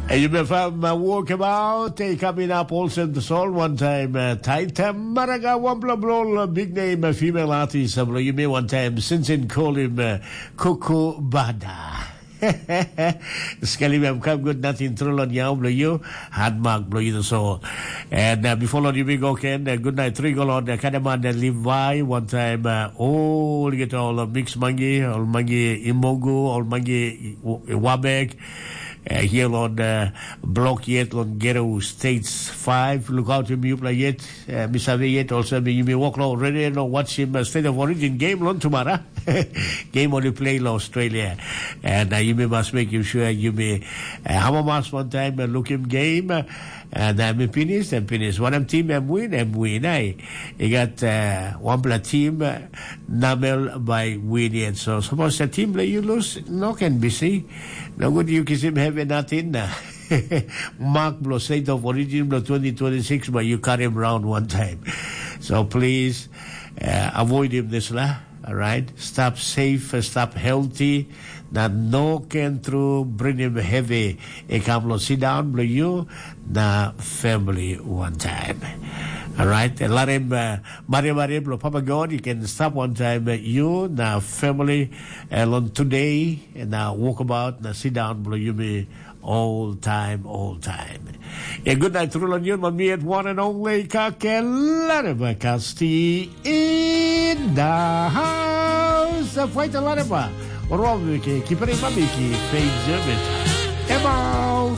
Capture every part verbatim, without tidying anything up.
Hey, you may find my walkabout. Hey, coming up also the soul one time. Uh, Taita Maraga, one blah blah blah, big name, a female artist. Uh, you may one time since in call him uh, Kuku Bada. Sekali mem kam good nothing through on yau blo you, hard mark blo you so. And uh, before Lord you may go ken, uh, good night three go Lord uh, Kadaman and Levi one time uh, all get all uh, mix mangi, all mangi imogu, all mangi wabek. Uh, here on uh, block yet on Gero States five. Look out him you play yet. Uh, Misave yet also you may walk already and watch him uh, state of origin game on tomorrow. Game only play in Australia. And uh, you may must make you sure you may uh, have a mask one time and look him game. Uh, and uh, me finish and finish. One of team and win and win. Eh? You got uh, one player team uh, number by win yet. So suppose the team that you lose, no can be see. No good you kiss him heavy nothing. Uh, Mark blow state of origin blow twenty twenty-six, but you cut him round one time. So please uh, avoid him this lah. All right, stop safe, uh, stop healthy. Na no can through bring him heavy. E come lo sit down blow you na family one time. All right, let him uh, mari mari blow Papa God. You can stop one time uh, you na family. And on today na walk about na sit down blow you me all time, all time. A good night through on you, my me at one and only Kakelare Kasti in the house. A fight a lot of uh, Robiki, Kipari Mamiki, Faith Zermit. Emo!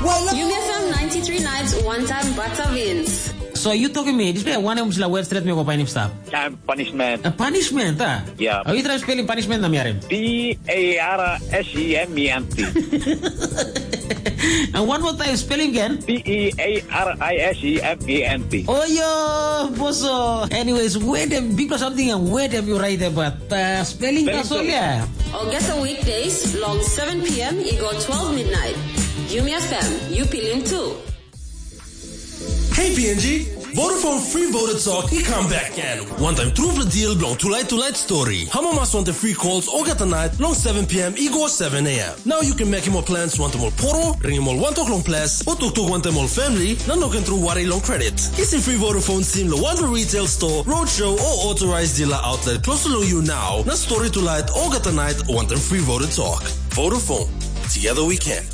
Well, you get some ninety-three nights, one time butter wins. So you talking me, this way one em sila web straight me go find him stuff. Time punishment. A punishment, ah? Yeah. Oh, you try spelling punishment na miarim. P A R S E M E N T. And one more time, spelling again. P E A R I S E M E N T. Oh, yo, boso. Anyways, where them big or something and where them you write about uh, spelling that's all, yeah. August weekdays, long seven p.m. Igo twelve midnight. Yumi F M, you feeling too. Hey P N G, Vodafone Free Voter Talk i come back again. One time through the deal belong tonight tonight story. Hamo mas want the free calls all get the night long seven p.m. Igo seven a.m. Now you can make him more plans want more poro, ring him all one talk long plus, or talk talk one time all family, na no can through worry long credit. Kiss him free Vodafone sim lo one retail store, roadshow, or authorized dealer outlet close to you now. Na story tonight all get the night one time free Voter Talk. Vodafone. Together we can.